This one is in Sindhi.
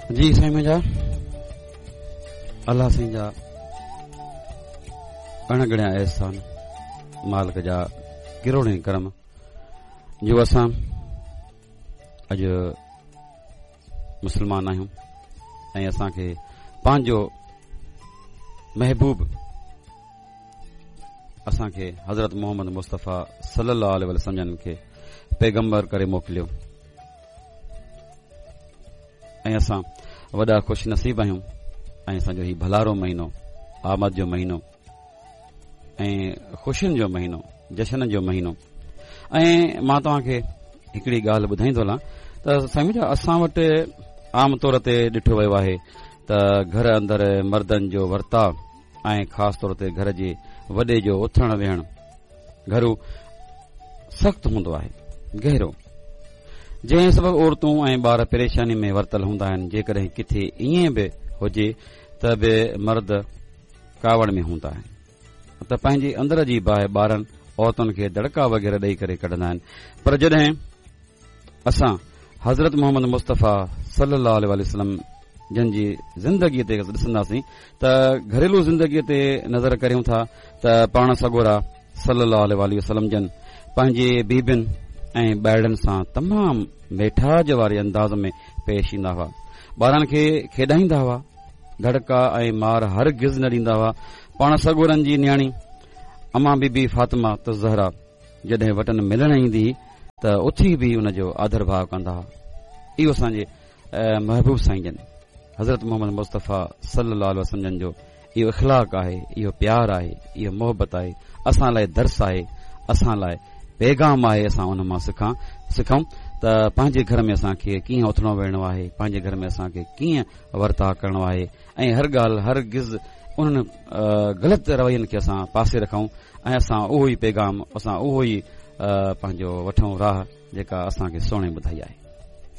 جي سائين منهنجا الله سائين جا اڻ ڳڻيا احسان، مالڪ جا ڪروڙين ڪرم جو اسان اڄ مسلمان آهيون ۽ اسان کي پنهنجو محبوب اسان کي حضرت محمد مصطفيٰ صلي الله عليه وسلم جن کي پيغمبر ڪري موڪليو ۽ اسان وڏا خوش نصيب آهيون ۽ اسان جو هي ڀلارو مهينو، آمد جو مهينو ۽ خوشين جو مهينو، جشن جو مهينو. ۽ مان توهان کي هڪڙي ڳالهه ٻڌائيندو هلان ته سائين منهنجا، اسان وٽ عام طور تي ڏٺو ويو آهي ته گهر اندر مردن جو ورتاء ۽ خاص طور تي گهر جي وڏي جو اٿڻ ويهڻ گهرو سخت هوندو آهي، گهرو، جنهن سبب عورتون ۽ ٻار پريشاني ۾ ورتل هوندا آهن. جيڪڏهن ڪٿي ائين به هجي ته به مرد ڪاوڙ ۾ هوندا آهن ته پنهنجي اندر جي باهه ٻارن، عورتن کي دڙڪا وغيره ڏئي ڪري ڪڍندا آهن. پر جڏهن اسان حضرت محمد مصطفيٰ صلي الله عليه وسلم جن جي زندگيء تي ڏسنداسين ته گهريلو زندگيء تي نظر ڪريون ٿا ته پاڻ سڳورا صلي الله عليه وسلم جن پنهنجي بيبين ۽ ٻارڙن سان تمام ميٺاج واري انداز ۾ پيش ايندا هئا. ٻارن کي کيڏائيندا هئا، دڙڪا ۽ مار هرگز نه ڏيندا هئا. پاڻ سڳورن جي نياڻي امان بي بي فاطمه الزهرا جڏهن وٽن ملڻ ايندي هئي ته اٿي به ان جو آڌر ڀاء ڪندا هئا. اهو اسان جي محبوب سائين جن حضرت محمد مصطفيٰ صلي الله عليه وسلم جن جو اهو اخلاق آهي، اهو پيار آهي، اهو محبت آهي، اسان لاء درس آهي، اسان لاء پيغام آهي. اسان ان مان سکان سکون ته پنهنجي گهر ۾ اسان کي ڪيئن اٿڻو ويهڻو آهي، پنهنجي گهر ۾ اسان کي ڪيئن ورتاء ڪرڻو آهي ۽ هر ڳالهه هرگز انهن غلط روين کي اسان پاسي رکون ۽ اسان اهو ئي پيغام، اسان اهو ئي پنهنجو وٺون راهه جيڪا اسان کي سهڻي ٻڌائي آهي.